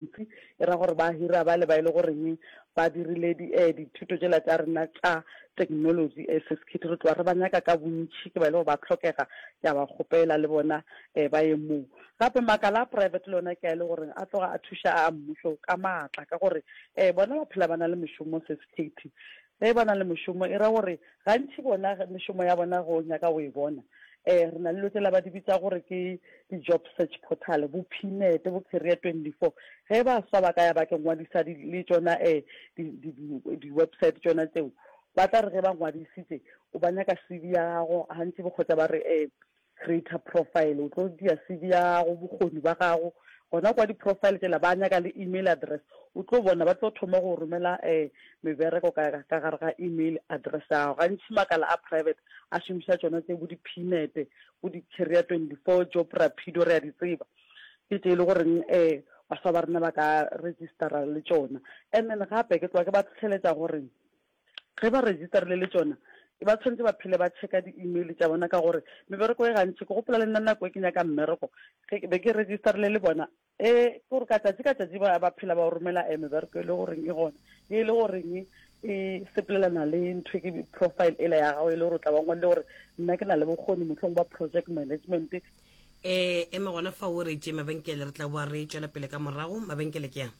E ra gore ba hira bale ba e le goreng ba dirile di, eh, dithuto tšela tša rena tša technology, eh, Seskhithi. Re tloga re ba nyaka ka bontši, ke ba e le gore ba hlokega, ke a ba kgopela le bona eh, ba ye moo. Gape makala a private le ona ke a e le goreng a tloga a thuša a mmušo ka maatla ka gore eh, bona ba phela ba na le mešomo, Seskhithi. Ge ba na le mošomo e ra gore gantši bona mešomo ya bona ge o nyaka go e bona eh re na le dilo tsela ba di bitsa gore ke di-job search portal, bo Pnet, bo Career 24. Ge baswa ba ka ya ba ke ngwadisa le tšona eh di-website tšona tseo, ba tla re ge ba ngwadisitse o ba nyaka CV ya gago, gantši bo kgotsa ba re eh creator profile, o tlo dia CV ya gago, bokgoni ba gago, gona kwa di-profile tšela ba nyaka le email address, o tlo bona ba tlo thoma go romela um mebereko ka ka gare ga email address ya gago. Gantši makala a private a šomiša tšona tše bo di-Pnet, bo di-Career 24, Job Rapido, re a di tseba. Ke tše e le goreng um baswa ba rena ba ka registera le tšona. And then gape ke tloga ke ba tlhohleletša gore ge ba registerile le tšona ba tshwanetse ba phele ba checka di-email tša bona ka gore mebereko e gantši ke gopola le nna nako e ke nyaka mmereko ge be ke registerile le bona e gore ka tšatši ka tšatši ba ba phela ba o romela e mebereko e le goreng e gona e le goreng e sepelelana le ntho e ke profile ela ya gago e le gore o tla ba ngwadile gore nna ke na le bokgoni mohlong ba project management. E eme gona fao o re tše mabenkele re tla boa re tšwela pele ka morago. Mabenkele ke a.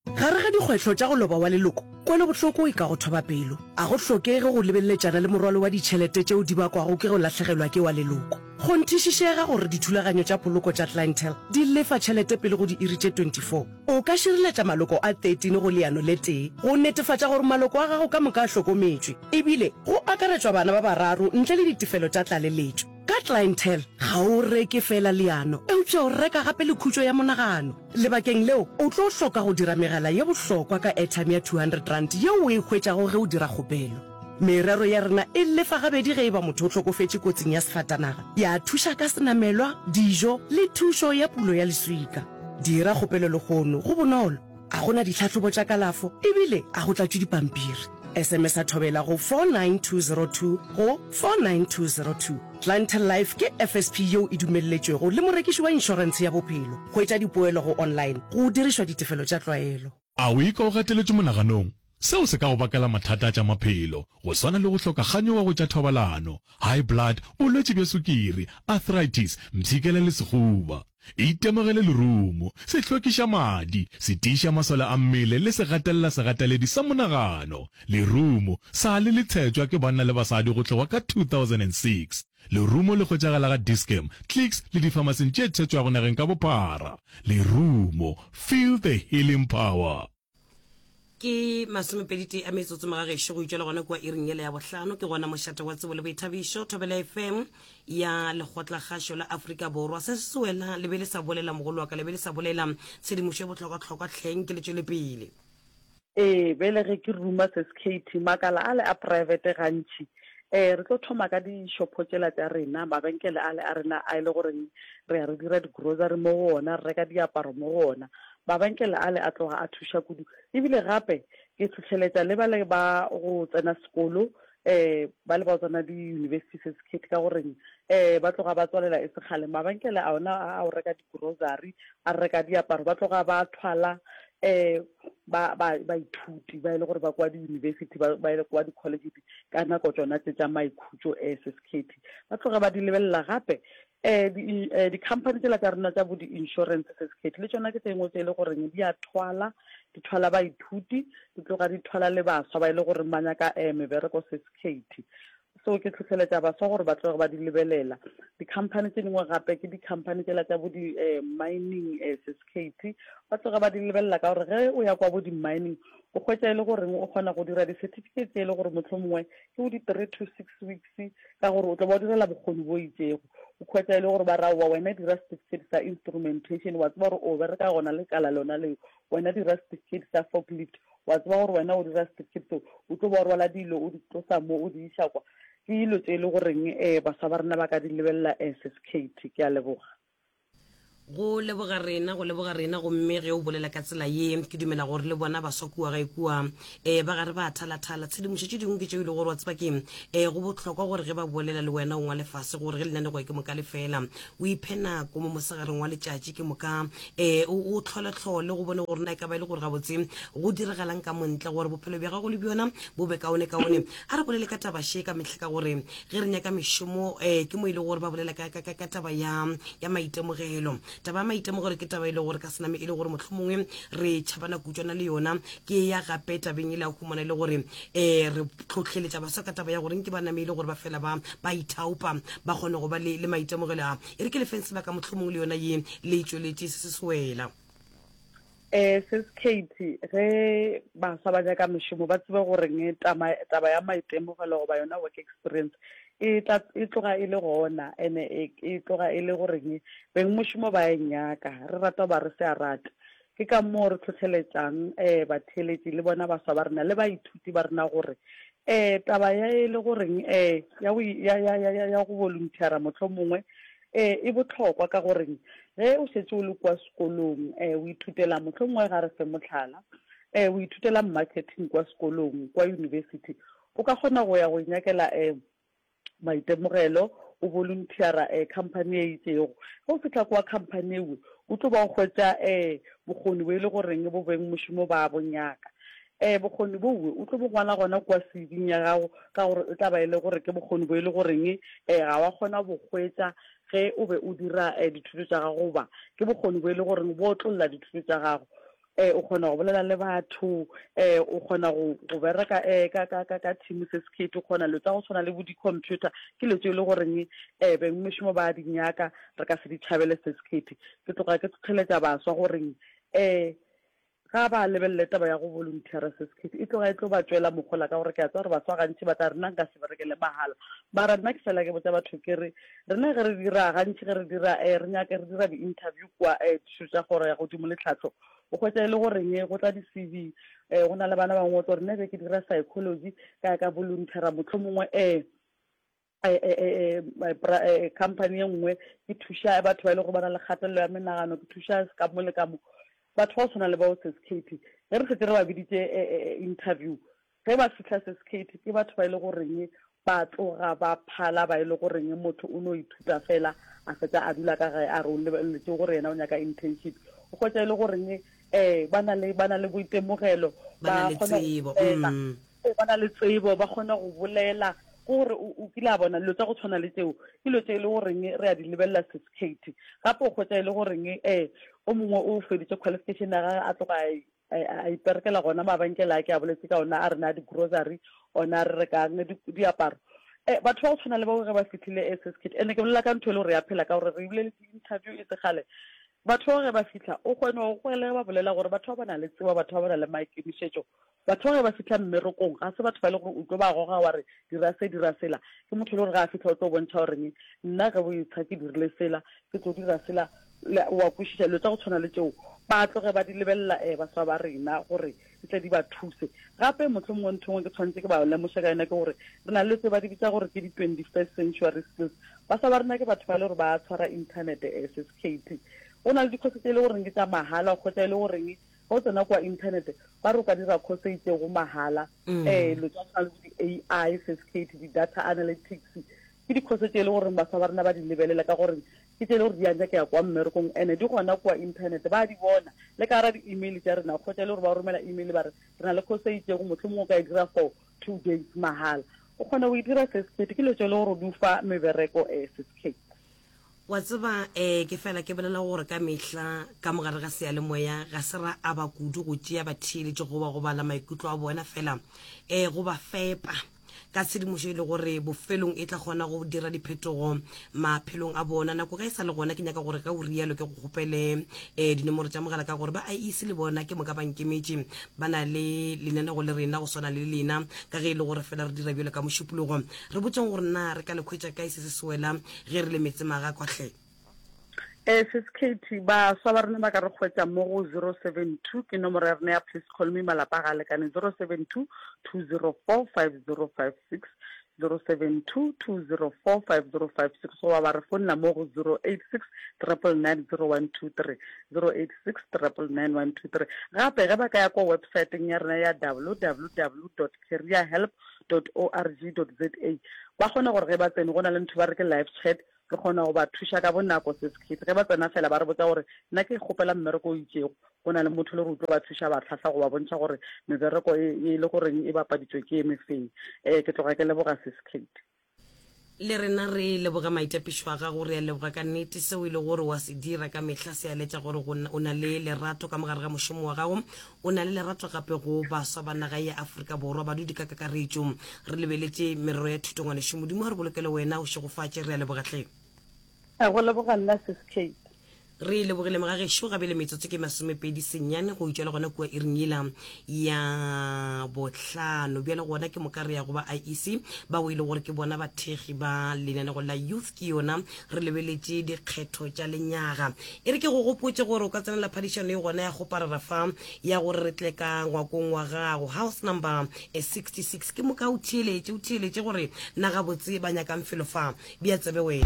Gare ga dikgwetlho tša go loba wa leloko, kwelobohloko e ka go thoba pelo. A go hlokege go lebeleletšana le morwalo wa ditšhelete tšeo di bakwago ke go lahlegelwa ke wa leloko. Kgonthišišega gore dithulaganyo tša poloko tša Clientele di lefa tšhelete pele go diiri tše 24. O ka šireletša maloko a 13 go leano le tee go netefatša gore maloko a gago ka moka a hlokometšwe, ebile go akaretšwa bana ba bararo ntle le ditefelo tša tlaleletšo. Ka Clientele, ga o reke feela leano, eupša o reka gape le khutšo ya monagano. Lebakeng leo, o tlo hloka go dira megala ye bohlokwa ka airtime ya R200 yeo o e hwetšago ge o dira kgopelo. Merero ya rena e lefa gabedi ge e ba motho o hlokofetše kotsing ya sefatanaga, ya thuša ka senamelwa, dijo le thušo ya pulo ya leswika. Dira kgopelo lehono, go bonolo, a go na ditlhahlobo tša kalafo ebile a go tlatšwe dipampiri. SMS-a Thobela go 49202 go 49202. Clientele Life ke FSP yeo e dumelletšwego le morekiši wa inšorentshe ya bophelo. Hwetša dipoelo go online go dirišwa ditefelo tša tlwaelo. A o ikwa o gateletšwe monaganong? Seo se ka go bakela mathata a tša maphelo, go swana le go hloka kganyogo go tša thobalano, high blood, bolwetši bja sukiri, arthritis, mpshikela le sehuba. Itemogele lerumo, se hlwekiša madi, se tiiša masole a mmele le se gatelela segateledi sa monagano. Lerumo sa le le tshetšwa ke banna le basadi go tloga ka 2006. Lerumo le hwetšagala ga Dis-Chem, Clicks le difamasing tše tshetšwago nageng ka bophara. Lerumo, feel the healing power. Ke masomepeditee a metsotso mogagešo go itšwela gona kua iring yela ya bohlano. Ke gona mošate wa tsebo le boithabišo, Thobela FM ya Lekgotlakgašo la Afrika Borwa. Se se wela le be le sa bolela mogolo wa ka, le be le sa bolela tshedimošo e bohlokwahlokwa hleng ke le tšwele pele. Ee, bjale ge ke ruma se SKT, makala ale a private gantši um re tlo thoma ka di-shopho tšela tša rena, mabenkele ale a rena a e le goreng re ya re dira di-grocery mo go ona, re reka diaparo mo go ona. Mabenkele ale a tloga a thuša kudu. E bile gape ke hlohleletša le bale ba go tsena sekolo, um bale ba go tsena di-university certificate ka goreng um ba tloga ba tswalela e se kgale. Mabenkele a ona a go reka di-grocery, a reka diaparo, ba tloga ba thwala um ba, ba, baithuti ba e le gore ba kwa di-university, ba, ba e le kwa di-college ka nako tšona tše tša maikhutšo um SSKT. Ba tloga ba di lebelela gape um di-company tsela tša rena tša bo di-insurance se sekhethe le tšona ke tse dingwe tse e le goreng di a thwala, di thwala baithuti, di tloga di thwala le baswa ba e le goreng ba nyaka um mebereko se sekhethe. So ke hlohleletša baswa gore ba tloge ba di lebelela. Di-company tše dingwe gape ke di-company tsela tša bo di-mining um se sekhethe, ba tloge ba di lebelela ka gore ge o ya kwa bo di-mining o hwetša e le goreng o kgona go dira di-certificate tše e le gore mohlomongwe ke bo di-three to six weeks ka gore o tlo ba o direla bokgoni bo itšego. O hwetša e le gore ba ra aowa wena dira certificate sa instrumentation, wa tseba gore o bereka gona lekala lona leo, wena dira certificate sa forklift, wa tseba gore wena o dira certificate seo, o tlo ba o rwala dilo o di tlosa mo o di iša kwa. Ke dilo tše e le goreng um baswa ba rena ba ka di lebelela um Sis Kate. Ke a leboga. Go leboga rena, go leboga rena. Gomme ge o bolela ka tsela ye, ke dumela gore le bona baswa kua gae kua, um ba gare ba thalathala. Tshedimošo tše dingwe ke tšeo e lego gore wa tseba ke, um go bohlokwa gore ge ba bolela le wena o ngwale fase gore ge lenanego ke moka le fela, o iphe nako mo mosegareng wa letšatši ke moka um o hlole-hlole go bone gore na e ka ba e le gore gabotse go diragalang ka montle gore bophelo bja gago le bjona bo be kaone-kaone. A re bolele ka taba še ka mehla ka gore ge re nyaka mešomo um ke mo e lego gore ba bolela ka, ka, ka, ka taba ya, ya maitemogelo. Taba ya maitemogelo ke taba e lego gore ka sename e le gore mohlomongwe re tšhabana kutšwana le yona. Ke ya gape tabeng e le ya humana e le gore um re tlhohleletša baswa ka taba ya gore nke ba name e le gore ba fela ba, ba ithaopa ba kgone go ba le, le maitemogelo a. E re ke le feng sebaka mohlomongwe le yona ye le e tšweletše se se swela. Eh, Sis Katie, ge baswa ba nyaka mešomo ba tsebe goreng tama, taba ya maitemogelo goba yona work experience e tla e tloga e le gona ene e, e tloga e le goreng beng mošomo ba e nyaka, re rata goba re se a rate. Ke ka moo re tlhotlheletšang eh batheeletši le bona baswa ba rena le baithuti ba rena gore eh taba ya e le goreng eh ya go ya ya ya ya go volunteera mohlomongwe Ee, e bohlokwa ka gore ge o šetše o le kua sekolong, o ithutela, mohlomongwe ga re fe mohlala, o ithutela marketing kua sekolong, kua university, o ka kgona go ya go inyakela maitemogelo, o volunteera company e itšego. Ge o fihla kua company ewe, o tlo ba o hwetša bokgoni bo e le goreng bo beng mošomo ba bo nyaka. Bokgoni bowe o tlo bo ngwala gona kua CV-ing ya gago ka gore e tla ba e le gore ke bokgoni bo e le goreng ga wa kgona go bo hwetša ge o be o dira dithuto tša gago goba ke bokgoni bo e le goreng bo otlolla dithuto tša gago. O kgona go bolela le batho, o kgona go go bereka ka ka ka ka team se sekete, o kgona dilo tsa go tshwana le bo di-computer, ke dilo tse e le goreng bengmešomo ba di nyaka, re ka se di tšhabele se sekete. Ke tloga ke tlhotlheletša baswa goreng Ga ba lebelele taba ya go volunteera se sekhethi, e tloga e tlo ba tšwela mohola ka gore ke a tseba gore baswa gantši ba tla re nna nka se berekele mahala. Mara nna ke fela ke botša batho ke re rena ge re dira gantši ge re dira eh, re nyaka re dira di-interview kua eh, dithuto tša kgoro ya godimo le tlhahlo, o hwetša e le goreng go tla di-C_V eh, go na le bana bangwe o tlo re nna be ke dira psychology ka ya ka volunteera mohlomongwe eh, company e nngwe ke thuša batho ba e le gore ba na le kgatelelo ya menagano, ke thuša ka mo le ka mo. Batho ba go tshwana le bao Sis Katie, ge re šetše re ba biditše interview, ge ba fihla Sis Katie ke batho ba e le goreng ba tloga ba phala ba e le goreng motho o no ithuta fela a fetša a dula ka gae a re o lebeletše gore yena o nyaka internship. O hwetša e le goreng um ba na le ba na le boitemogelo, Ba na ba le kgona go tsebo. bolela. Ba na le tsebo, ba kgona go bolela. Ke gore o, o kile a bona dilo tša go tshwana le tšeo, ke dilo tše e le goreng re a di lebelela Sis Katie. Gape o hwetša e le goreng um o mongwe o feditše qualification ya gagwe a tloga a, a iperekela gona mabenkele a ke a boletse ka ona a rena a di-grocery, ona a re rekang diaparo. Um batho ba go tshwana le bao ge ba fihlile eh, Sis Katie, and-e ke bolela ka ntho e le gore ya phela ka gore re bile le di-interview e se kgale. Batho bao ge ba fihla, o kgone go kwele ge ba bolela gore batho ba ba na le tsebo, batho ba ba na le maikemišetšo. Batho ba ge ba fihla mmerekong, ga se batho ba e le gore o tlo ba goga wa re dira se, dira sela. Ke motho e le gore ge a fihla o tlo bontšha gore nna ge bo etsha ke dirile sela, ke tlo dira sela. O a kwešiša? Dilo tša go tshwana le tšeo ba tloge ba di lebelela um baswa ba rena gore di tle di ba thuse. Gape mohlomongwe ntho e nngwe ke tshwanetse ke ba lemoše ka yona ke gore re na le tse ba di bitsa gore ke di-twenty-first century skills. Baswa ba rena ke batho ba e le gore ba tshwara inthanete um Sis Katie. Go na le dikhoso tše e le goreng ke tša mahala, o hwetša e le goreng ge o tsena kua inthanete ba re o ka dira course e itšego mahala. Um dilo tša go tshwana le bo di-A_I, Sis Katie, di-data analytics, ke dikhoso tše e le goreng baswa ba rena ba di lebelela ka gore ke tše e le gore di a nyakega kwa mmerekong and-e di gona kua inthanete, ba di bona le ka gara di-email tša rena. O hwetša e le gore ba romela email ba re re na le course e itšego, mohlomongwe o ka e dira for 2 days mahala. O kgona go e dira Sis Katie, ke dilo tše e le gore di o fa mebereko um Sis Katie. Wa tseba, eh, ke fela ke bolela gore ka mehla ka mo gare ga seyalemoya ga se ra aba kudu go tšea batheeletši goba go bala maikutlo a bona, fela eh, go ba fepa ka tshedimošo e le gore bofelong e tla kgona go dira diphetogo maphelong a bona. Nako ge e sa le gona, ke nyaka gore ge o rialo ke go kgopele eh, dinomoro tša mogala ka gore ba IEC le bona ke moka ba nkemetše ba na le lenanego le rena go swana le lena ka ge e le gore fela re dira bjalo ka Mošupologo. Re botšeng gore na re ka le hwetša kae se se sewela ge re le metsemagakwa hle. Ee, Sis Katie, baswa ba rena ba ka re hwetša mo go 072, ke nomoro ya rena ya Please Call Me, malapa ga a lekane, 072 204 5056, 072 204 5056 goba ba re founela mo go 086 999 0123, 086 999 123. Gape ge ba ka ya kwa websaeteng ya rena ya www dot careerhelp dot org dot za ba kgona gore ge ba tsene go na le ntho ba re ke live chat, re kgona go ba thuša ka bonako sis Kate. Ge ba tsena fela ba re botsa gore nna ke kgopela mmereko o itšego, go na le motho le gore o tlo ba thuša ba hlahla go ba bontšha gore mebereko e, e le goreng e bapaditšwe ke e mefeng. Um ke tloga ke leboga sis Kate. Le rena re leboga maitapišo a gago, re a leboga ka nnete. Seo e le gore wa se dira ka mehla se a letša gore go, o na le lerato ka mogare ga mošomo wa gago, o na le lerato gape go baswa ba naga ya Afrika Borwa, badudi ka kakaretšo. Re lebeletše merero ya thuto ngwanešu, Modimo a re bolokele wena, o šegofatše, re a leboga hle. Go leboga nna sis Kate. Re lebogile mogagešo gabele metsotso ke masomepedi senyane go itšwa le gona kua iring yela ya bohlano. Bjale gona ke moka re ya go ba IEC bao e le gore ke bona bathekgi ba lenanego la Youth ke yona re lebeletše dikgetho tša lenyaga. E re ke go gopotše gore o ka tsenela phadišano e gona ya go parara fa ya gore re tle ka ngwakong wa gago house number 66 ke moka o theeletše o theeletše gore na gabotse ba nyakang felo fa Bea tsebe wena.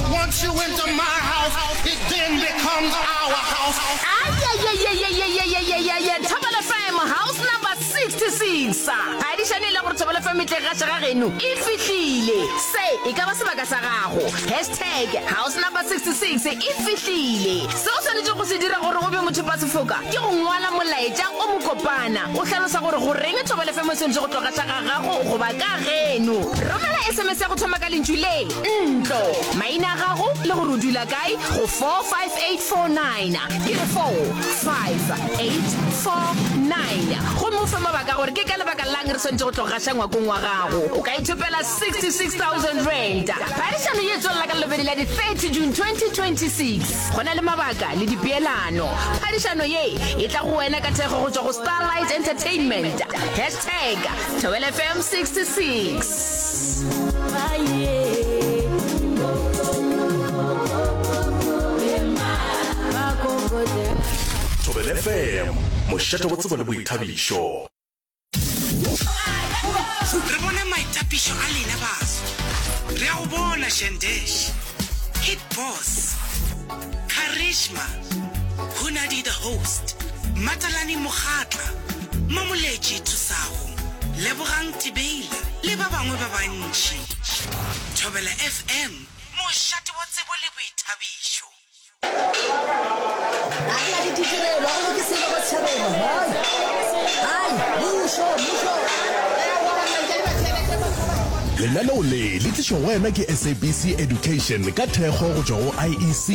Once you enter my house, it then becomes our house. Ayayayayayayayayaya Thobela FM house number 66. Phadišano e la gore Thobela FM e tle gaša ga geno e fihlile. Se e ka ba sebaka sa gago. Hashtag house number 66 e fihlile. Se o swanetšego go se dira gore o be mothopasefoka ke go ngwala molaetša o mokopana o hlalosa gore goreng Thobela FM e swanetše go tlo gaša ga gago goba ka geno. Romela SMS ya go thoma ka lentšu le, ntlo, maina a gago le gore o dula kae go 45849. Ke re 45849. Gomme o fe mabaka a gore ke ka lebaka la'ng re swanetše go tlo gaša ngwakong wa gago. O ka ithopela R66,000. Phadišano ye e tswelela ka Lelobedi la di 30 June 2026. Go na le mabaka le dipeelano. Phadišano ye e tla go wena ka thekgo go tšwa go Starlight Entertainment. Hashtag Thobela FM 66. Thobela FM, mošate wa tsebo le boithabišo. Re bone maitapišo a lena baso. Re a go bona Shandesh, Hit Boss, Charisma, Hunadi the Host, Matalane Mokgatla, Mamoletši Thusago, Lebogang Tibeila le ba bangwe ba bantši. Thobela FM, mošate wa tsebo le boithabišo. Ga re na le ditirelo, ga go loke selo mo setšhabeng. Hai, hai, mmušo, mmušo. Lenaneo le le tlišwa go wena ke SABC Education ka thekgo go tšwa go IEC.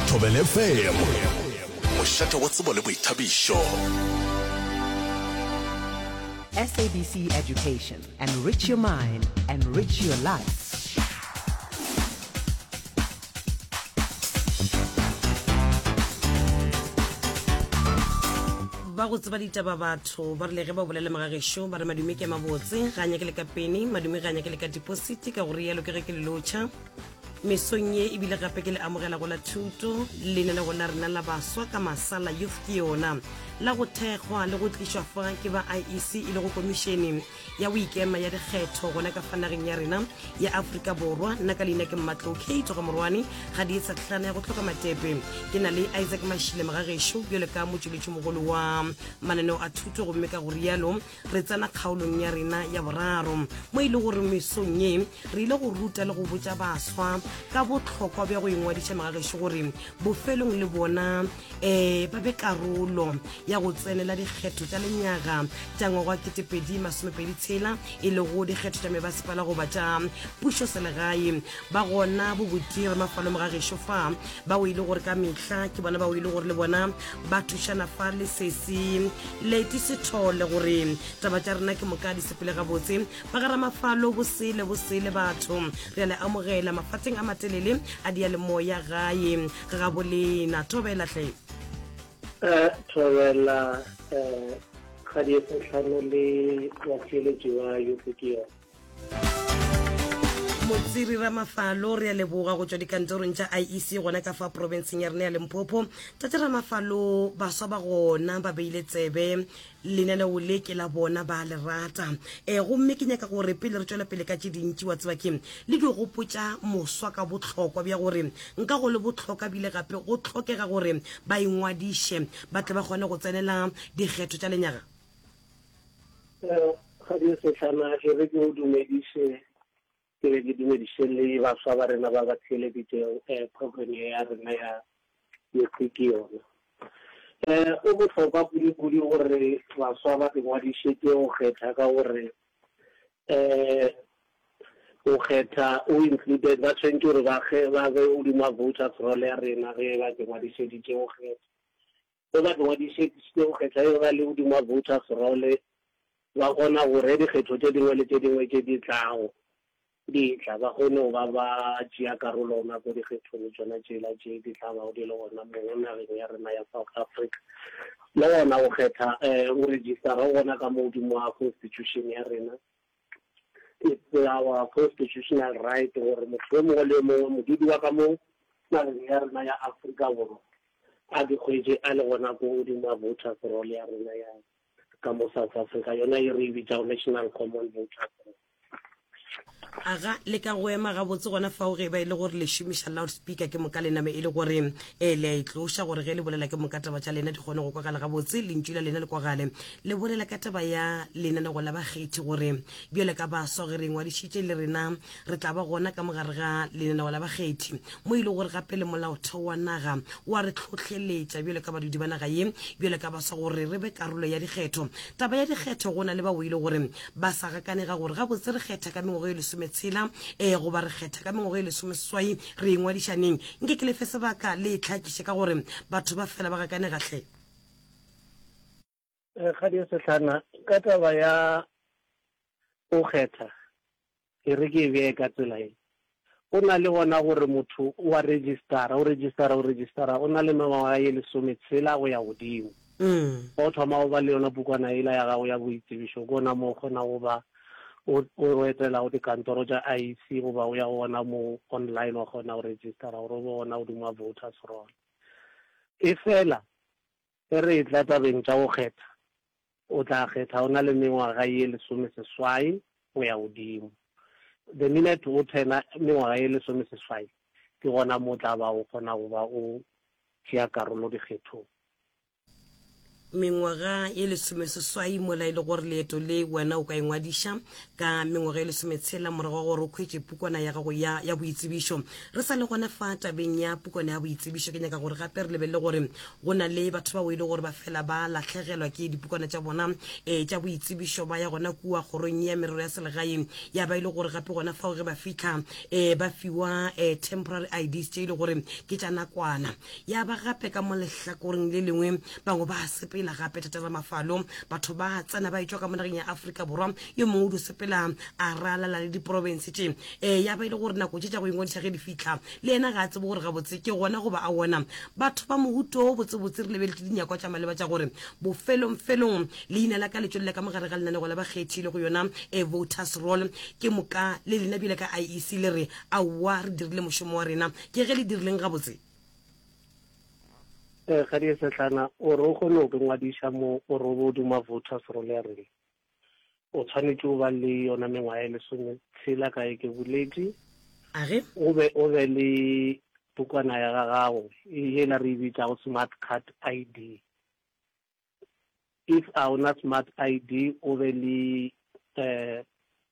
Thobela FM, mošate wa tsebo le boithabišo. SABC Education, enrich your mind, enrich your life. Ba go tseba ditaba batho ba rile ge ba bolela mogagešo ba re madume ke a mabotse ga a nyake le ka peni madume ga a nyake le ka depositi ka go rialo ke ge ke le lotšha mesong ye ebile gape ke le amogela go la thuto lenanego la rena la baswa ka masala youth ke yona la go thekgwa le go tlišwa fa ke ba iec e le go komišene ya go ikema ya dikgetho gona ka fa nageng ya rena ya Afrika Borwa. Nna ka leina ke Mmatlou Kate ga Morwane ga di etsa tlhana ya go hloka matepe. Ke na le Isaac Mashile mogagešo bjalo ka motšweletšimogolo wa mananeo a thuto gomme ka go rialo re tsena kgaolong ya rena ya boraro mo e le gore mesong ye re ile go ruta le go botša baswa ka bohlokwa bja go ingwadiša mogagešo gore bofelong le bona um ba be karolo ya go tsenela dikgetho tša lenyaga tša ngwaga wa 2026 e lego dikgetho tša mebasepala goba tša pušo selegae. Ba gona bobuti Ramafalo Mogagešo fa bao e le gore ka mehla ke bona bao e le gore le bona ba thušana fa le sesi Leti Sethole gore taba tša rena ke moka di sepele gabotse. Ba ga Ramafalo bosele bosele batho re a le amogela mafatsheng a matelele a diyalemoya gae. Ga gabo lena. Thobela hle. Eh, thobela eh, kgadi e setlhano le batheeletši ba youth ke yone. Motsiri Ramafalo, re a leboga go tšwa dikantorong tša IEC gona ka fa profenseng ya rena ya Limpopo. Tate Ramafalo, baswa ba gona ba beile tsebe lenaneo le ke la bona ba le rata. E, gomme ke nyaka gore pele re tšwela pele ka tše dintši wa tseba ke le di gopotša moswa ka bohlokwa bja gore nka go le bohloka bile gape go hlokega gore ba ingwadiše ba tle ba kgone go tsenela dikgetho tša lenyaga. Kgadi Sehlana, e re ke o dumediše, ke be ke dumediše le baswa ba rena ba ba theeleditšego um program ye ya rena ya Mekgwi ke yona. Um o bohlokwa kudu-kudu gore baswa ba ingwadišetše go kgetha ka gore um go kgetha o included, ba tshwanetše gore ba ba be godimo ga voters roll ya rena ge ba ingwadišeditše go kgetha. Ge ba ingwadišeditše go kgetha e ba le godimo ga voters roll, ba kgona gore dikgetho tše dingwe le tše dingwe tše di tlago di tla, ba kgone go ba ba tšea karolo gona ko dikgethong tšona tšela tše di tla bago di le gona mo nageng ya rena ya South Africa. Le gona go kgetha go registera go gona ka mo godimo ga constitution ya rena. It's our constitutional right gore motho yo mongwe le yo mongwe, modudi wa ka mo nageng ya rena ya Afrika Borwa, a di hwetše a le gona ko godimo ga voters roll ya rena ya ka mo South Africa, yona ye re e bitšago National Common Voters Roll. Aga, le ka go ema gabotse gona fao ge e ba e le gore le šomiša loudspeaker ke moka le name e le gore e le a e tloša gore ge le bolela ke moka taba tša lena di kgone go kwagala gabotse, lentšu la lena le kwagale. Le bolela ka taba ya lenanego la bakgethi gore bjale ka baswa ge re ingwadišitše le rena re tla ba gona ka mogare ga lenaneo la bakgethi mo e le gore gape le molaotheo wa naga wa re hlohleletša bjalo ka badudi ba naga ye bjalo ka baswa gore re be karolo ya dikgetho. Taba ya dikgetho go na le bao e le gore ba sa gakanega gore gabotse re kgetha ka mengwaga e lesometshela um goba re kgetha ka mengwaga e lesomeseswai re ingwadiša neng. Nke ke le fe sebaka le e hlakiše ka gore batho ba fela ba gakanega hle. Kgadi ya Sehlana, ka taba ya go kgetha, e re ke e beye ka tsela ye. Go na le gona gore motho o a registara, o registara, o registara, o na le mengwaga ye lesometshela go ya godimo. Fa o thoma go ba le yona pukwana yela ya gago ya boitsebišo, ke gona mo o kgona go ba o o etelago dikantoro tša IEC goba o ya gona mo online wa kgona go registara gore o be gona godimo ga voters roll. Efela Ge re etla tabeng tša go kgetha, o tla kgetha o na le mengwaga ye lesomeseswai go ya godimo. The minute o turna mengwaga ye lesomeseswai, ke gona mo o tla ba o kgona go ba o tšea karolo dikgethong. Mengwaga ye lesomeseswai mola e le gore leeto le wena o ka ingwadiša ka mengwaga e lesometshela morago ga gore o khwetše pukwana ya gago ya, ya boitsebišo. Re sa le gona fa tabeng ya pukwana ya boitsebišo, ke nyaka gore gape re lebelele gore go na le batho bao e le gore ba fela ba lahlegelwa ke dipukwana tša bona um tša boitsebišo, ba ya gona kua kgorong ya merero ya selegae, ya ba e le gore gape gona fao ge ba fihla um ba fiwa um temporary IDs tše e le gore ke tša nakwana. Ya ba gape ka mo lehlakoreng le lengwe bangwe ba sepela gape Tate Ramafalo, batho ba tsena ba etšwa ka mo nageng ya Afrika Borwa, yo mongwe o dio sepela a ralala le diprofense tše um ya ba e le gore nako tše tša go ingwadiša ge di fihla le yena ga a tsebe gore gabotse ke gona goba a wona. Batho ba mohuto wo botsebotse re lebeletše dinyakwa tša maleba tša gore bofelongfelong leina la ka le tšwelele ka mo gare ga lenanego la bakgethi le go yona e voters roll, ke moka le lena bjale ka IEC le re aowa re dirile mošomo wa rena. Ke ge le dirileng gabotse? Ee, Kgadi Sehlana, o re o kgone go ingwadiša mo o re o be o duma voters roll ya rena. O tshwanetše o ba le yona mengwaga e lesometshela ka e ke boletše. A ge? O be o be le pukwana ya gago yela re e bitšago smart card ID. If a o na smart ID o be le eh,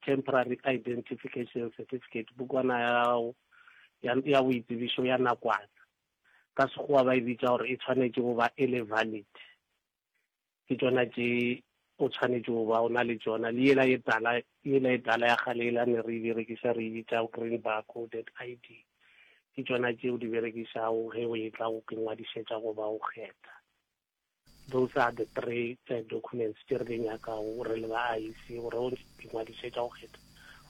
temporary identification certificate, pukwana ya gago ya, ya boitsebišo ya nakwana. Ka Sekgowa ba e bitša gore e tshwanetše go ba e le valid. Ke tšona tše o tshwanetše go ba o na le tšona. Le yela ye tala, yela e tala ya kgale yela ne re e berekiša re e bitša green bar coded ID. Ke tšona tše o di berekišago ge o etla go ingwadišetša goba go kgetha. Those are the three documents tše re di nyakago re le ba IEC gore o ingwadišetša go kgetha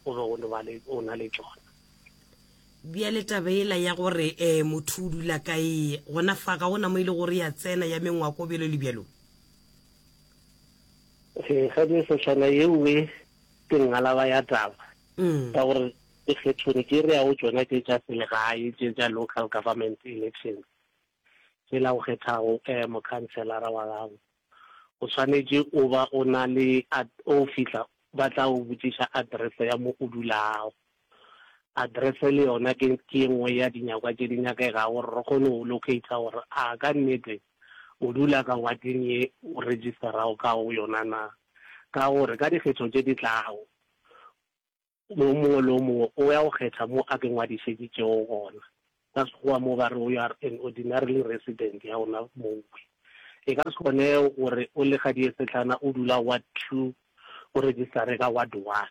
o be o no ba le o na le tšona. Bjale taba yela ya gore um motho o dula kae gona fa ga gona mo e le gore ya tsena ya mengwako bjalo le bjalo. Ee, ga ke sehlana ye nngwe ke ngalaba ya taba ka gore. Dikgethong tše re yago tšona tše tša selegae, tše tša local government elections, tšela o kgethago mokhanselara wa gago, o swanetše o ba o na le, o fihla ba tla o botšiša address ya mo o dulago. Address le yona ke ke ye nngwe ya dinyakwa tše di nyakegago gore re kgone go locator gore a ka nnete o dula ka wading ye o registerago ka go yona na. Ka gore ka dikgetho tše di tlago, yo mongwe le yo mongwe o ya go kgetha mo a ke ngwadišeditšego gona. Ka Sekgowa mo ba re you are an ordinarily resident ya gona mowe. E ka se kgonege gore o le Gadiesehlana o dula ward two o registere ka ward one.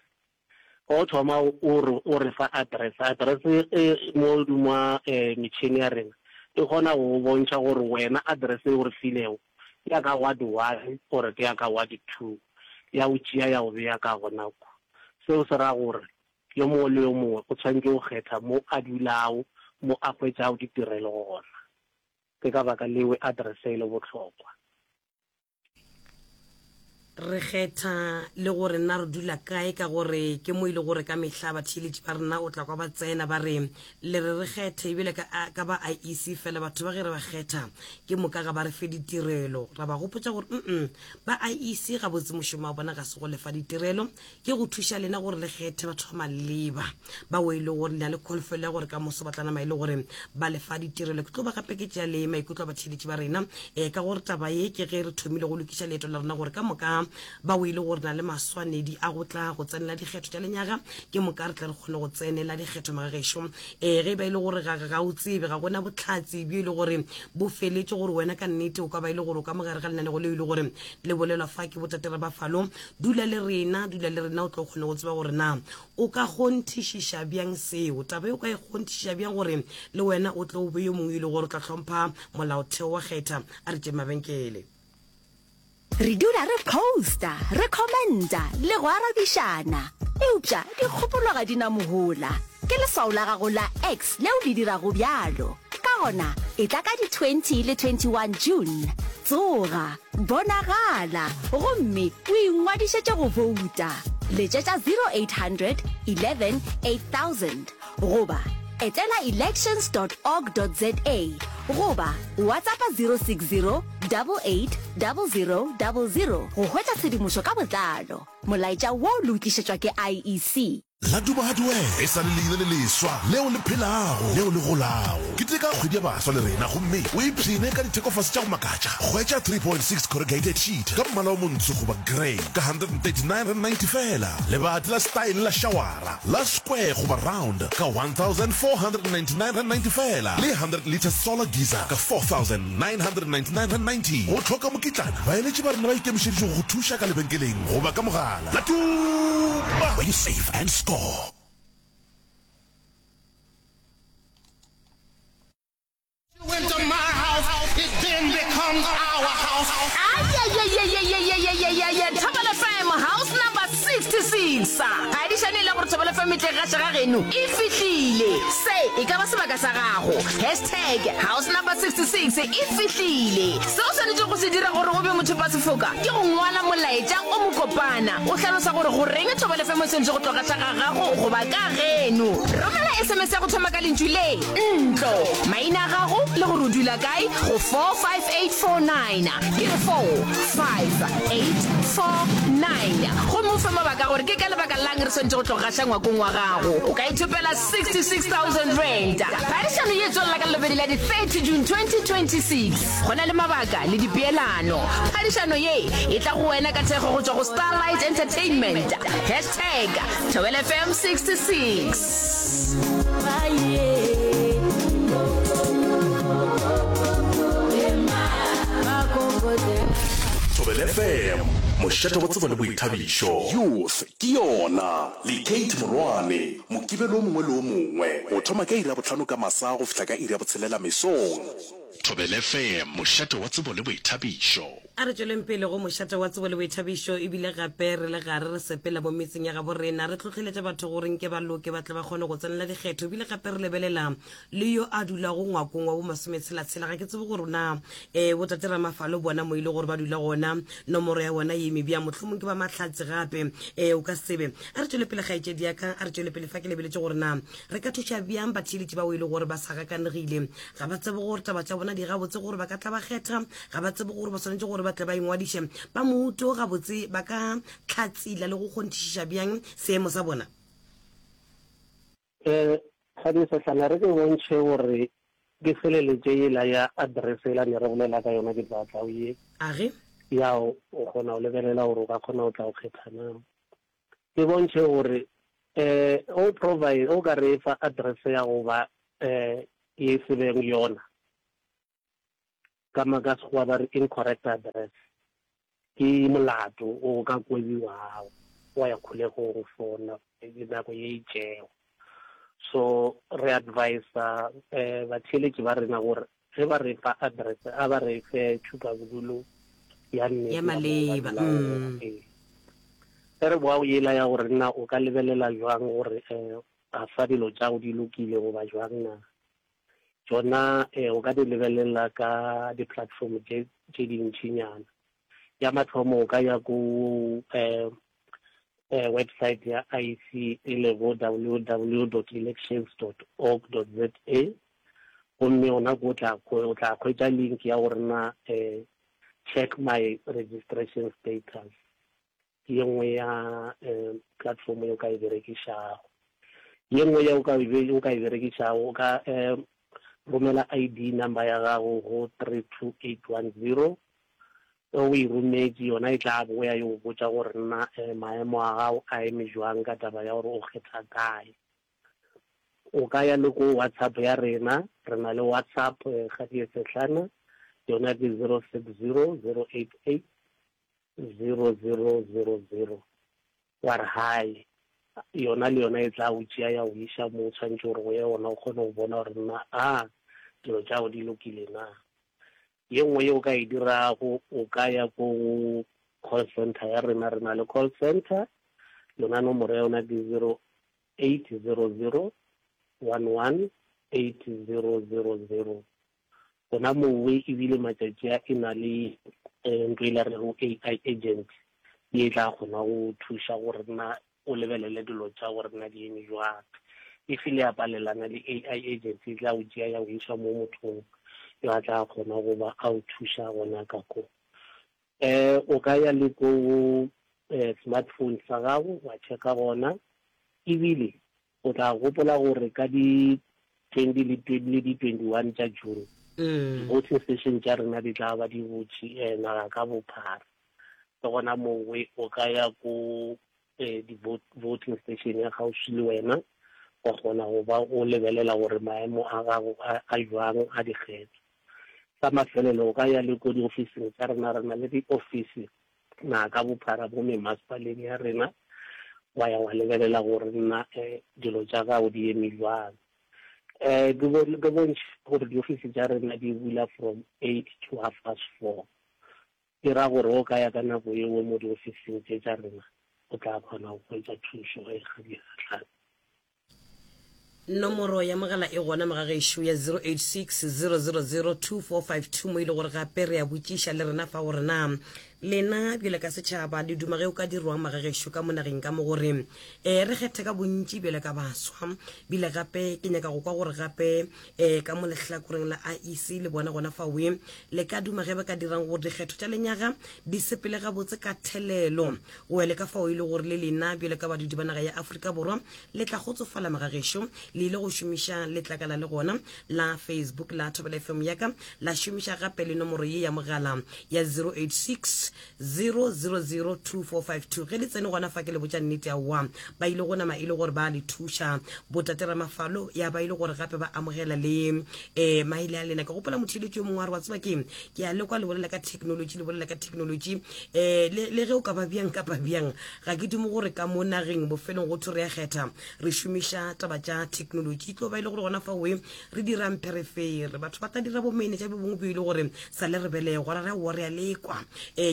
Wa go thoma o re o re fa address, address e mo godimo ga metšhene ya rena e kgona go go bontšha gore wena address e o re filego ke ya ka ward one or ke ya ka ward two, ya go tšea ya go bea ka gona kwa. Seo se ra gore yo mongwe le yo mongwe o tshwanetše go kgetha mo a dulago, mo a hwetšago ditirelo gona. Ke ka baka leo address e le bohlokwa. Re kgetha le gore na re dula kae ka gore ke mo e le gore ka mehla batheeletši ba rena o tla kwa ba tsena ba re le re re kgethe ebile ka, ka ba IEC fela batho ba ge re ba kgetha ke moka ga ba re fe ditirelo. Ra ba gopotša gore mm ba IEC gabotse mošomo wa bona ga se go lefa ditirelo ke go thuša lena gore le kgethe batho ba maleba bao e le gore le na le kholofelo ya gore ka moso ba tla nama e le gore ba lefa ditirelo. Ke tlo ba gape ke tšea le maikutlo a batheeletši ba rena um ka gore taba ye ke ge re thomile go lokiša leeto la rena gore ka moka bao e le gore na le maswanedi a go tla go tsenela dikgetho tša lenyaga ke moka re tle re kgone go tsenela dikgetho magagešo. Um ge e ba e le gore ga ga o tsebe ga gona bohlatse bjo e le gore bo feletše gore wena ka nnete o ka ba e le gore o ka mogare ga lenanego leo e le gore le bolelwa fa ke botate Rabafalo Dula le rena, dula le rena, o tlo kgone go tseba gore na o ka kgonthišiša bjang seo. Taba e o ka e kgonthišiša bjang gore le wena o tlo be yo mongwe e le gore o tla hlompha molaotheo wa kgetha. A re tšeng mabenkele. Re dula re posta, re commenta le go arabišana. Eupša dikgopolo ga di na mohola. Ke leswao la gago la X leo le dirago bjalo. Ka gona, etla ka di 20 le 21 June. Tsoga, bonagala, gomme o ingwadišetše go bouta. Letšetša 0800 11 8000 goba etela elections dot org dot za goba WhatsAppa 060 88 00 00 go hwetša tshedimošo ka botlalo. Molaetša wo le o tlišetšwa ke IEC. La Duba Hardware e sa le leina le leswa leo le phelago, leo le golago. Keteka Kgwedi ya Baswa le rena gomme o ipshine ka dithekofase tša go makatša. Hwetša 3.6 corrugated sheet ka mmala o montsho goba grey ka R139.90 feela. Lebati la style la šawara la square goba round ka R1,499.90 feela le 100 litre solar geyser ka R4,999.90. Go hloka mokitlana, baeletši ba rena ba ikemišeditše go go thuša ka lebenkeleng goba ka mogala. La Tuba, where you save and score. Into my house, it then becomes our house. Ayayayayayayayayaya Thobela FM house number 66 Phadišano e le gore Thobela FM e tle gaša ga geno e fihlile Se e ka ba sebaka sa gago Hashtag house number 66 e fihlile Se o swanetšego go se dira gore o be mothopasefoka ke go ngwala molaetša o mokopana o hlalosa gore goreng Thobela FM e swanetše go tlo gaša ga gago goba ka geno. Romela SMS ya go thoma ka lentšu le, ntlo, maina a gago le gore o dula kae go 45849. Ke re 45849. Gomme o fe mabaka a gore ke ka lebaka la'ng re swanetše go tlo gaša ngwakong wa gago. O ka ithopela R66,000. Phadišano ye e tswelela ka Lelobedi la di 30 June 2026. Go na le mabaka le dipeelano. Phadišano ye e tla go wena ka thekgo go tšwa go Starlight Entertainment. Hashtag Thobela FM 66. Thobela FM, mošate wa tsebo le boithabišo. Youth ke yona le Kate Morwane. Mokibelo o mongwe le o mongwe go thoma ka iri ya bohlano ka masa go fihla ka iri ya botshelela mesong. Thobela FM, mošate wa tsebo le boithabišo. A re tšweleng pele go mošate wa tsebo le boithabišo ebile gape re le gare re sepela mo metseng ya gabo rena re hlohleletša batho gore nke ba loke ba tle ba kgone go tsenela dikgetho ebile gape re lebelela le yo a dulago ngwakong wa bo masometshela-tshela ga ke tsebe gore na um botate Ramafalo bona mo e le gore ba dula gona nomoro ya bona ye. balemi bjang, mohlomong ke ba mahlatse gape, um o ka se tsebe. A re tšwele pele kgaetšedi ya ka, a re tšwele pele fa ke lebeletše gore na re ka thuša bjang batheeletši bao e le gore ba sa gakanegile, ga ba tsebe gore taba tša bona di gabotse gore ba ka tla ba kgetha, ga ba tsebe gore ba swanetše gore ba tle ba ingwadiše. Ba mouto gabotse ba ka hlatsila le go kgonthišiša bjang seemo sa bona? Um Kgadi Sehlana, re ke bontšhe gore ke feleletše yela ya address yela ne re bolela ka yona ke tla tla o ye. Age? Ya o kgona go lebelela gore o ka kgona go tla go kgetha na. Ke bontšhe gore um o provide o ka re fa address ya go ba um ye se beng yona. Ka ka Sekgowa ba re incorrect address. Ke molato o ka kwebiwago wa ya kgolegong for nako ye itšego. So re advisa batheeletši ba rena gore ge ba re fa address a ba re fe tšhupabodulo ya nnete ya mo ba dulago gona. Ee. Ge re boa go yela ya gore na o ka lebelela jwang gore a fa dilo tša go di lokile goba jwang na. Tšona o ka di lebelela ka di-platform tše tše dintšinyana. Ya mathomo o ka ya ko website ya IEC e lego www dot elections dot org dot za gomme gona ko o tla o tla hwetša link ya gore na check my registration status. Ke ye nngwe ya platform ye o ka e berekišago. Ye nngwe ye o ka o ka e berekišago, o ka romela ID number ya gago go 32810. Ge o e rometše, yona e tla boya e go botša gore na maemo a gago a eme jwang ka taba ya gore o kgetha kae. O ka ya le ko WhatsApp ya rena, re na le WhatsApp Kgadie Sehlana, yona ke 060 088 0000 wa re hai, yona le yona e tla go tšea ya go iša mo o tshwanetše gore o ye gona o kgone go bona gore na a dilo tša gago di lokile na. Ye nngwe ye o ka e dirago o ka ya ko call center ya rena, re na le call center, yona nomoro ya yona ke 0800 11 8000. Gona mowe ebile matšatši a e na le ntho e la rego AI agent ye e tla kgona go thuša gore na o lebelele dilo tša gore na di eme jwang. If le ya palelana le AI agent e tla go tšea ya go iša mo mothong yo a tla kgona go ba a o thuša gona ka ko. O ka ya le ko smartphone sa gago wa checka gona ebile O tla gopola gore ka di 20 le le di 21 tša June, di-voting station tša rena di tla ba di butše naga ka bophara. Le gona mowe o ka ya ko di-voting station ya kgauswi le wena, wa kgona go ba o lebelela gore maemo a gago a jwang a dikgetho. Sa mafelelo, o ka ya le ko diofising tša rena, re na le diofisi naga ka bophara mo memasepaleng ya rena, wa ya wa lebelela gore nna dilo tša gago di eme jwang. Um ke bontšhe gore diofisi tša rena di bula from eight to half past four. E ra gore o ka ya ka nako yeo mo diofising tše tša rena, o tla kgona go hwetša thušo ge ga di gahlane. Nomoro ya mogala e gona mogagešo ya 086 000 2452 mo e le gore gape re a botšiša le rena fa gore na lena bjale ka setšhaba le duma ge o ka dirwang magagešo ka mo nageng ka mo gore um re kgethe ka bontši bjale ka baswa bile gape ke nyaka go kwa gore gape um ka mo lehlakoreng la IEC le bona gona fawe le ka duma ge ba ka dirang gore dikgetho tša lenyaga di sepele gabotse ka thelelo Go ya le ka fao e le gore le lena bjalo ka badudi ba naga ya Afrika Borwa le tla kgotsofala magagešo, le ile go šomiša letlakala le gona la Facebook la Thobela FM ya ka, la šomiša gape le nomoro ye ya mogala ya 086 000 2452. Ge le tsene gona fa ke le botša nnete aowa, ba ile go nama e le gore ba le thuša. Botate Ramafalo ya ba e le gore gape ba amogela le um maele a lena. Ke gopola motheeletši yo mongwe a re wa tseba keng, ke a le kwa le bolela ka technology, le bolela ka technology um le, le ge o ka ba bjang kapa bjang ga ke dumo gore ka mo nageng bofelong go thwe re a kgetha re šomiša taba tša technology e tlo ba e le gore gona faoe re dirang pherefere batho ba tla dira bomenetša bo bongwe bo e le gore sa le re belegwa ra re aowa re a lekwa um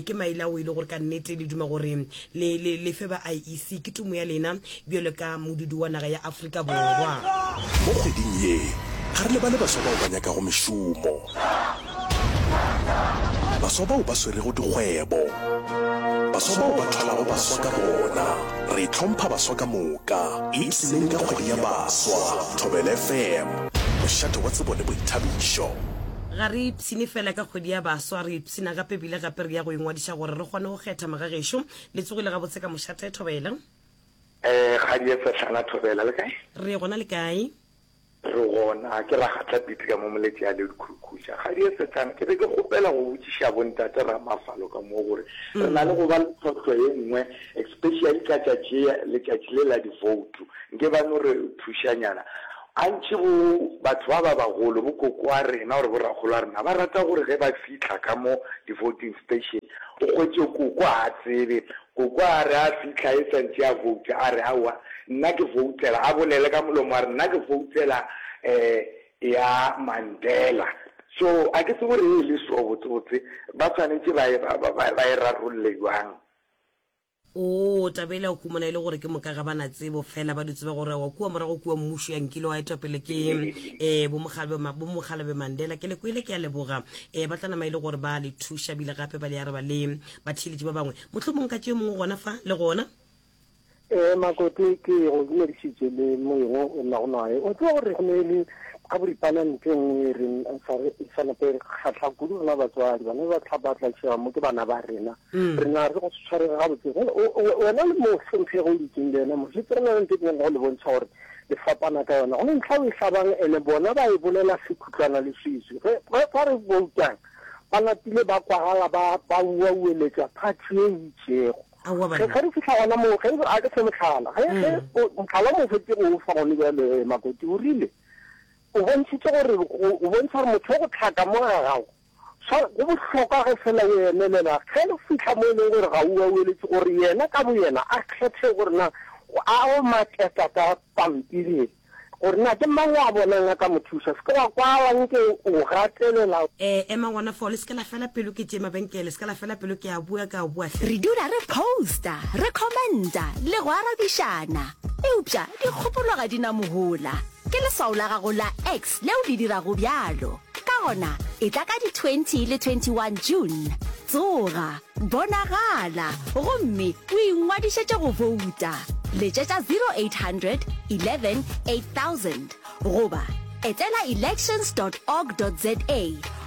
ke maele ao e le gore ka nnete le duma gore le, le, le fe ba IEC ke tumo ya lena bjalo ka modudi wa naga ya Afrika Borwa. Mo kgweding ye, ga re lebale baswa bao ba nyakago mešomo. Baswa bao ba swerego dikgwebo. Baswa bao ba thwalago baswa ka bona. Re hlompha baswa ka moka. Ipshineng ka kgwedi ya baswa. Thobela FM, mošate wa tsebo le boithabišo. Ga re ipshine fela ka kgwedi ya baswa, re ipshina gape ebile gape re ya go ingwadiša gore re kgone go kgetha magagešo. Le tsogile gabotse ka mošate, Thobela? Eh, kgadi e sehlana Thobela, le kae? Re gona le kae? Re gona, ke Ragatla Pete ka mo Moletši a le Dikhukhutša. Kgadi e sehlana, ke be ke kgopela go botšiša bontate Ramafalo ka mo gore re na le go ba le tlhohlo ye nngwe especially ka tšatši letšatši le la divoutu. Nke ba no re thušanyana. Gantši bo batho ba ba bagolo, bo koko wa rena or bo rakgolo wa rena ba rata gore ge ba fihla ka mo di-voting station o hwetše koko ga a tsebe Koko a re a fihla e sa ntše a vouta, a re, Aowa, nna ke voutela, a bolele ka molomo a re, nna ke voutela um ya Mandela. So a ke tsebe gore e le so botsebotse ba swanetše ba e, ba, ba, ba e rarolle bjang. Oo, taba yela o humana e le gore ke moka ga ba na tsebo fela ba di tseba gore wa kua morago kua mmušo ya nkile wa etwa pele ke um bomokgalabje Mandela. Ke le kwele, ke a leboga. Um ba tla nama e le gore ba le thuša bile gape ba le araba le Batheeletši ba bangwe, mohlomong ka tše mongwe gona fa le gona. Ee, Makoti, ke go dumedišitše le moyeng o o nago naye. O tseba gore go ne le ka boripana ntho e nngwe e reng e sa re e sa nape e re kgahla kudu rena batswadi. Bana ba tla ba tlaišega mo ke bana ba rena. Rena re go se tshwarege gabotse. Jwale o, o, wena le mohlomphegi o dutseng le yena mo, šetše re na le ntho e ke nyaka go le bontšha gore le fapana ka yona. Go ne ntlha o e hlabang ene bona ba e bolela sekhutlwana le swiswi. Ge, ge fa re boutang, ba napile ba kwagala ba ba uaueletša phathi ye e itšego. Aowa Ge, banna. ge re fihla gona moo, ge, a ke fe mohlala, ge, ge o, mohlala o mo fetše go o fa gone bjale, Makoti, o rile, o bontšhitše gore, go, o bontšha gore motho o go hlaka mo ga gago, swa, go bohlokwa ge fela o emelela, ge le fihla mo e leng gore ga o uaueletše, gore yena ka boyena a kgethe gore na a o maketa ka pampiri Gore na ke mang o a bonang a ka mo thuša. Se ke wa kwala nke o gatelela. Eh, ema gona fao, le se ke la fela pelo ke tše mabenkele, se ke la fela pelo ke a bua, ke a bua hle. Re dula re posta, re commenta le go arabišana. Eupša dikgopolo ga di na mohola. Ke leswao la gago la X leo le dirago bjalo. Ka gona, etla ka di 20 le 21 June. Tsoga! Bonagala gomme o ingwadišetše go bouta. Letšetša 0800 11 8000 goba etela elections dot org dot za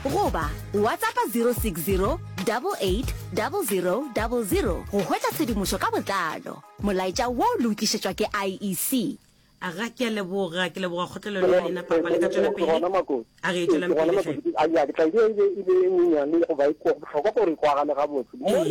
goba WhatsAppa 060 88 00 00 go hwetša tshedimošo ka botlalo. Molaetša wo le o tlišetšwa ke IEC. Aga, ke a leboga, ke leboga kgotlelelo ya lena, papa. Le ka tšwela pele. A ge, tšwelang pele hle. A ke tla e be e be e nyenyane goba e bohlokwa gore e kwagale gabotse. Mo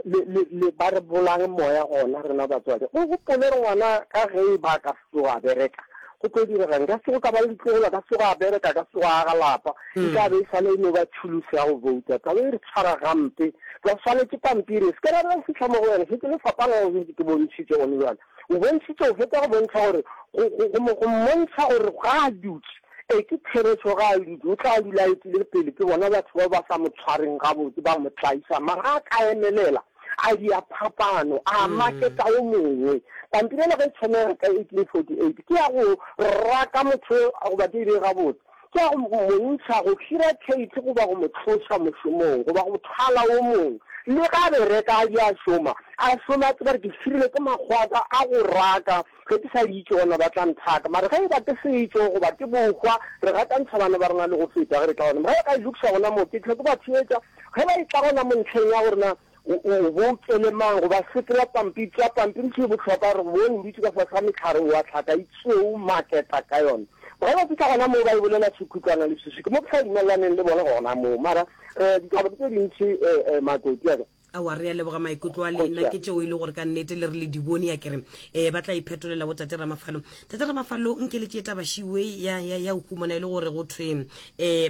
le le le ba re bolang moya gona rena batswadi. O gopole gore ngwana ka ge e ba ka se tsoge a bereka, go tlo diregang? Ka se go ka ba le ditlogolo, a ka se tsoge a bereka, a ka se tsoge a aga lapa. E tla be e sale e no ba thulusi ya go bouta. Taba e re tshwara gampe. Ba swanetše pampiri. Se ke ra re fihla mo go yona, šetše le fapana go ke bontšhitše gone bjale. O bontšhitše, o fetša go bontšha gore, go, go, go mo, go mmontšha gore ga a dutše. Ee, ke therešo, ga a dutše. O tla dula a etile pele ke bona batho bao ba sa mo tshwareng gabotse, ba mo tlaiša. Mara ga a ka emelela, a dia phapano, a maketa yo mongwe. Pampiri yela ge e thomega ka 1848, ke ya go raka motho yo, goba ke e bee gabotse, Ke ya go mo ntšha, go hira Kate goba go mo tloša mošomong, goba go thwala wo mongwe. Le ge a bereka, a di a šoma, a šome a tseba gore ke hirilwe ke makgowa a ka a go raka, ge ke sa di itše gona ba tla nthaka. Mara ge e ba ke setšo goba ke bohwa, re gakantšha bana ba rena le go feta ge re tla gona. Ge ba ka e lokiša gona moo, ke hlwe ke ba theetša. Ge ba etla gona mo ntlheng ya gore na O, o boutele mang? Goba sepela pampiri, tšea pampiri ntho e bohlokwa gore bone o dutše ka fase ga mehlare o a hlaka e tšeo maketa ka yona. Ge ba fihla gona moo ba e bolela sekhutlwana le swiswi. Ke mo ke sa dumelelaneng le bona gona moo. Mara eh, ditaba ke tše dintši eh, eh, Makoti a ka. Aowa, re a leboga maikutlo a lena, ke tšeo e le gore ka nnete le re le di bone, a ke re um ba tla iphetolela bo Tate Ramafalo. Tate Ramafalo, nke le tšee taba šiwe ya, ya, ya go humana e le gore go thwe um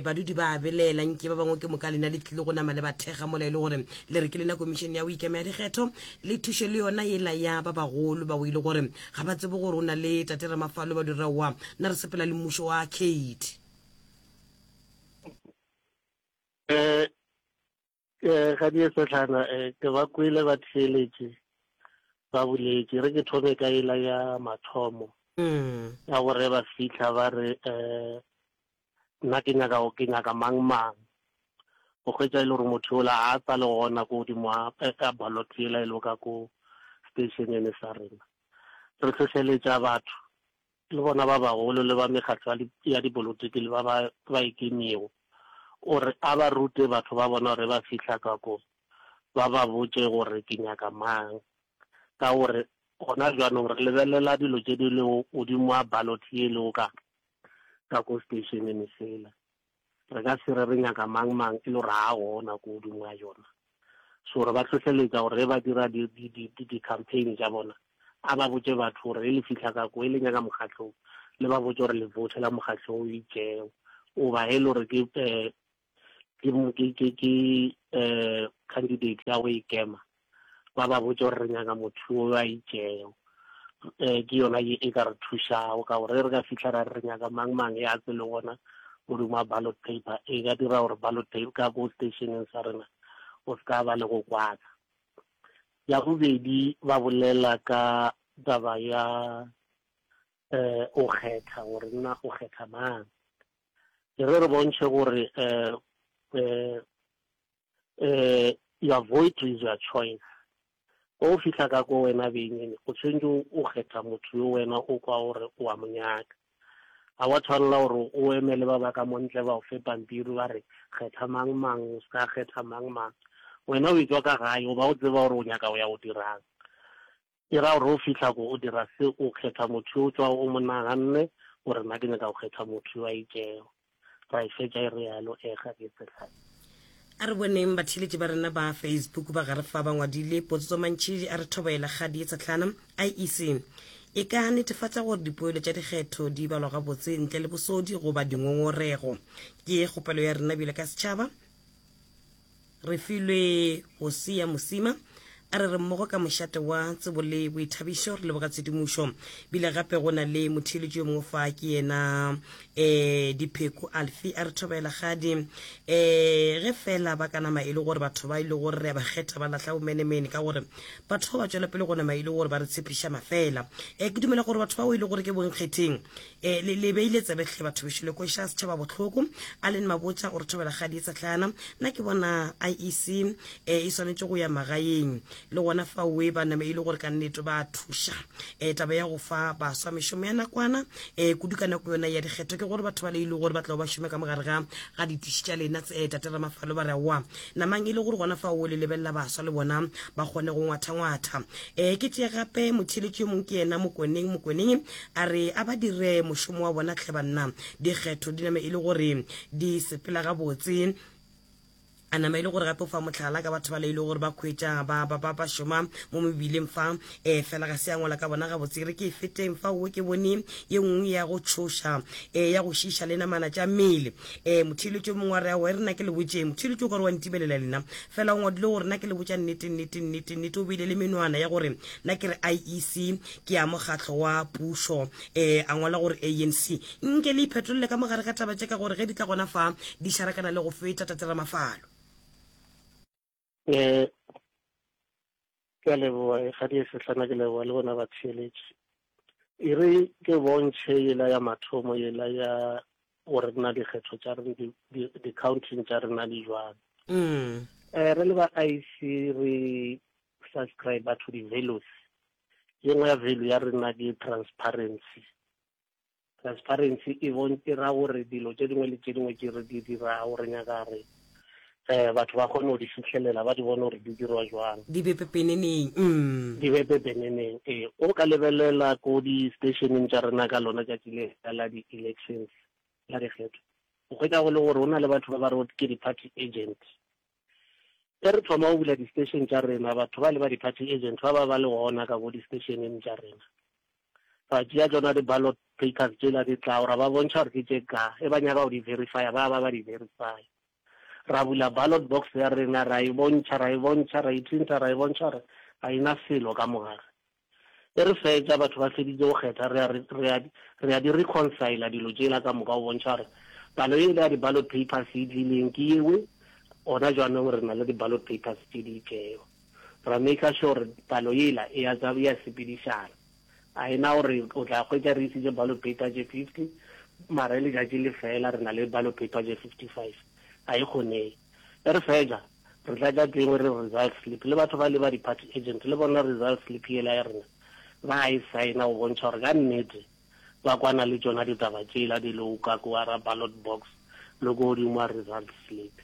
badudi ba a belaela, nke ba bangwe ke moka lena le tlile go nama le ba thekga mola e le gore le re ke lena komišene ya go ikema ya dikgetho, le thuše le yona yela ya ba bagolo bao e le gore ga ba tsebe gore o na le Tate Ramafalo ba dira wa na re sepela le mmušo wa Kate. Um Eh, ga die sehlana eh, ke ba kwele ba theeletše ba boletše re ke thome ka ela ya mathomo mm. ya gore ba fihla ba re um nna ke nyaka ke nyaka mang mang. O hwetša e le gore motho yola ga a sa le gona ko godimo ga ballot yela e lego ka ko stationeng sa rena. Re hlohleletša batho le bona ba bagolo le ba mekgatlo ya dipolotiki le ba ba ikemego gore a ba rute batho ba bona gore ba fihla ka ko ba ba botše gore ke nyaka mang. Ka gore gona bjanong re lebelela dilo tše di lego godimo ga ballot ye e lego ka ka ko stationeng sela. Re ka se re re nyaka mang mang e le gore ga a gona ko godimo ga yona. So re ba hlohleletša gore ge ba dira di, di, di, di, di-campaign tša bona, a ba botše batho gore ge le fihla ka ko, e le nyaka mokgatlo o, le ba botše gore le voutela mokgatlo o itšego. Goba ge e le gore ke, eh, ke, ke, ke, ke eh, candidate ya go ikema, ba ba botše gore re nyaka motho yo a itšego. Um ke yona ye e ka re thušago ka gore ge re ka fihla ra re re nyaka mang mang ya tse le gona godimo ga ballot paper, e ka dira gore ballot paper ka ko stationeng sa rena o se ka ba le go kwana. Ya bobedi ba bolela ka taba ya um o kgetha gore nna o kgetha mang. E re re bontšhe gore um um eh your vote is your choice. Ge o fihla ka ko wena beng o tshwanetse o kgetha motho yo wena o kwa gore o a mo nyaka. Ga wa tshwanela gore o emele ba ba ka mo ntle ba o fe pampiri ba re kgetha mang mang o se ka kgetha mang mang. Wena o etšwa ka gae o ba o tseba gore o nyaka go ya go dirang. E ra gore o fihla ko o dira se o kgetha motho yo o tšwago o mo naganne gore nna ke nyaka go kgetha motho yo a itšego. Ra e fetša e realo e ga ke tsehlane. A re boneng batheeletši ba rena ba Facebook ba gare fa ba ngwadile Potsotso Mantšhidi a re thobela kgadi ye tshehlana. IEC e ka netefatša gore dipoelo tša dikgetho di balwa gabotse ntle le bosodi goba dingongorego. Ke kgopelo ya rena bjalo ka setšhaba. Re filwe Hosea Mosima a re re mmogo ka mošate wa tsebo le boithabišo re leboga tshedimošo. Bile gape go na le motheeletši yo mongwe fa ke yena um Dipheko Alfi a re thobela gadi um ge fela ba ka nama e le gore batho ba e le gore re a ba kgetha ba lahla bomenemene ka gore batho ba ba tšwela pele go nama e le gore ba re tshepiša mafela. Um ke dumela gore batho bao e le gore ke bonkgetheng E, le, le beile tsebe hle batho bešo, le kweša setšhaba bohloko. Allen Mabotja o re thobela kgadi e tsehlana. Nna ke bona IEC e, e swanetše go ya magaeng le gona faoe ba name e le gore ka nnete ba thuša. E, taba ya go fa baswa mešomo ya nakwana e, kudu ka nako yona ya dikgetho ke gore batho ba le e le gore ba tla ba šome ka mogare ga ga ditiši tša lena e, tate Ramafalo ba re aowa namang e le gore gona fao le lebelela baswa le bona ba kgone go ngwathangwatha. E, ke tšee gape motheeletši yo mongwe ke yena Mokoneng Mokoneng A re a ba dire mošomo wa bona hle banna. Dikgetho di name e le gore di sepela gabotse. A nama e le gore gape o fa mohlala ka batho ba le e le gore ba khwetša ba ba ba ba šoma mo mebileng fa e fela ga se a ngwala ka bona gabotse. Re ke e feteng fa o ke bone ye nngwe ya go tšhoša e ya go šiša le namana tša mmele. E motheeletši yo mongwe wa re aowa e re nna ke le botšeng. Motheeletši o ka re wa ntibelela lena. Fela o ngwadile gore nna ke le botša nnete nnete nnete nnete o beile le menwana ya gore nna ke re IEC ke ya mokgatlo wa pušo um a ngwala gore ANC nke le iphetolele ka mogare ga taba tše ka gore ge di tla gona fa di šarakana le go feta Tate Ramafalo. Um ke a leboga e ga di sehlana ke leboga le bona batheeletši e re ke bontšhe yela ya mathomo yela ya gore na dikgetho tša rena di-counting tša rena di jwang mm. eh, re le ba IC re subscribe to di-values Ye nngwe ya value ya rena ke transparency. Transparency e bon e ra gore dilo tše dingwe le tše dingwe tše re di dirago re nyaka re eh batho ba kgone go di fihlelela ba di bone gore di dirwa jwang. Di be pepeneneng. Mm. Di be pepeneneng ee. O ka lebelela ko di-stationeng tša rena ka lona tšatši le la di-elections la dikgetho o hwetša go le gore go na le batho ba ba rego ke di-party agent. Ge re thoma go bula di-station tša rena, batho ba le ba di-party agent ba ba ba le gona ka bo di-stationeng tša rena. Ra tšea tšona di-ballot papers tšela di tlago, ra ba bontšha gore ke tše ka, e ba nyaka go di verifya, ba ba ba di verifya. Ra bula ballot box ya rena, ra e bontšha, ra e bontšha, ra e printer, ra e bontšha gore ga e na selo ka mogare. Ge re fetša, batho ba feditše go kgetha, re a, re a, re a di reconcile dilo tšela ka moka go bontšha gore palo yela ya di-ballot papers e tlileng ke yewe, gona jaanong re na le di-ballot papers tše di itšego. Ra maker sure gore palo yela e a, e a sepedišana. Ga e na gore o tla hwetša re isitše ballot paper tše 50, mara ge letšatši le fela re na le ballot paper tše 55. Ga e kgonege. Ge re fetša, re tlatša tengwe re result slip. Le batho ba le ba di-party agent le bona result slip yela ya rena ba e saena go bontšha gore ka nnete ba kwana le tšona ditaba tšela di lego ka kua ra ballot box le ko godimo ga result slip.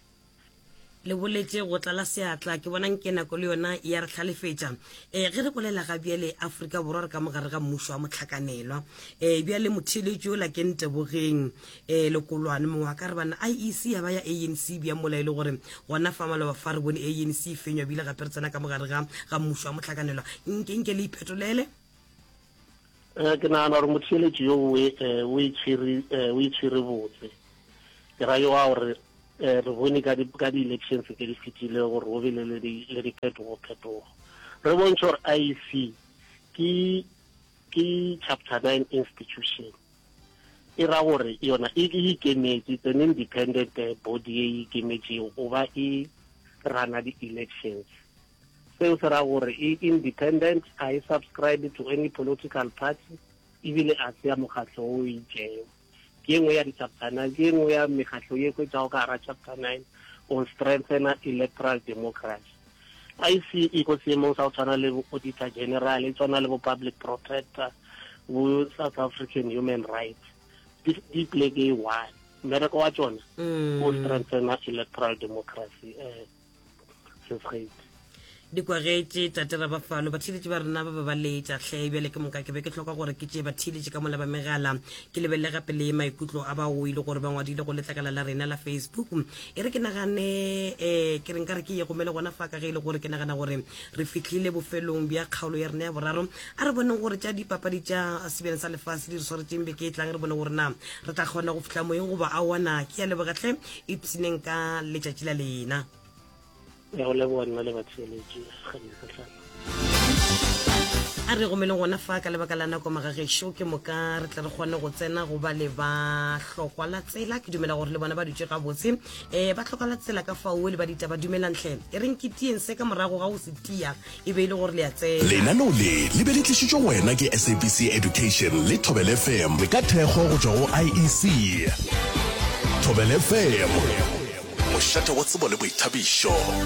Le boletše go tlala seatla, ke bona nke nako le yona ya re hlalefetša. E, ge re bolela ga bjale Afrika Borwa re ka mogare ga mmušo wa mohlakanelwa. E, bjale motheeletši yola ke Ntebogeng e, Lekolwane mongwe a ka re bana IEC ya ba ya ANC bjang mola e le gore gona fa maloba fa re bone ANC e fenywa bile gape re tsena ka mogare ga ga mmušo wa mohlakanelwa. Nke nke le iphetolele. Eh, ke nagana gore motheeletši yo o e, eh, o itshwere eh, o itshwere botse. Ke ra yo wa gore eh, re bone ka di ka di-elections tse di fetile gore go bile le di le diphetogo-phetogo. Re bontšhe gore IEC ke ke chapter 9 institution. E ra gore yona e e ikemetše, it's an independent eh, body e ikemetšego go ba e rana di-elections. Seo se ra gore e independent, ga e subscribe to any political party, ebile a se ya mokgatlo o itšego. Ke e nngwe ya di-chapter nine, ke e nngwe ya mekgatlo ye hwetšago ka gara chapter nine go strengthena electoral democracy. IC e ko seemong sa go tshwana le bo Auditor General, e tshwana le bo Public Protector, bo South African Human Rights. Di, di pleke e one. Mmereko wa tšona go strengthena electoral democracy. Eh, sesgate di kwagetše tate rabafalo batheeletši ba rena ba ba ba letša hle bjale ke moka ke be ke hloka gore ke tšee batheeletši ka mola ba megala ke lebelele gape le maikutlo a bao e le gore ba ngwadile go letlakala la rena la facebook e re ke nagane um ke re nka re ke ye gomele gona fa ka ge e le gore ke nagana gore re fihlile bofelong bja kgaolo ya rena ya boraro a re boneng gore tša dipapadi tša sebjana sa lefase di re swaretšeng beke e tlang re bone gore na re tla kgona go fihla moyeng goba aowa na ke ya leboga hle ipshineng ka letšatši la lena. Ya go leboga nna le batheeletši ga a re gomele gona fa ka lebaka la nako magagešo ke moka re tle re kgone go tsena go ba le ba hlokwa la tsela ke dumela gore le bona ba dutše gabotse um ba tlhoka la tsela ka fao le ba ditaba dumelang tlhe e reng ke tieng se ka morago ga go se tia e be e le gore le a tsena. Lenaneo le le be le tlišitšwe go wena ke SABC Education le Thobela FM ka thekgo go tšwa go IEC. Thobela FM, mošate wa tsebo le boithabišo.